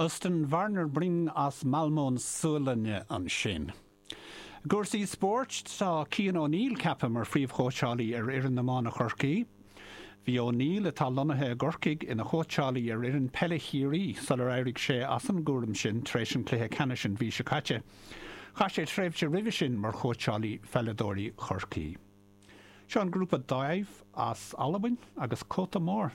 Östen Warnerbring as Malmö na Sualainne ansin. I gcúrsaí spóirt, tá Cian O'Neill ceaptha mar phríomhchóitseálaí ar fhoireann iomána Chorcaí. Bhí O'Neill, atá lonnaithe i gCorcaigh, ina chóitseálaí ar fhoireann peile Chiarraí sular éirigh sé as an gcúram sin tar éis an chluiche ceannais an mhí seo caite. Chaith sé tréimhse roimhe sin mar chóitseálaí pheileadóirí Chorcaí. Seo an grúpa Dáimh as Albain agus Cóta Mór.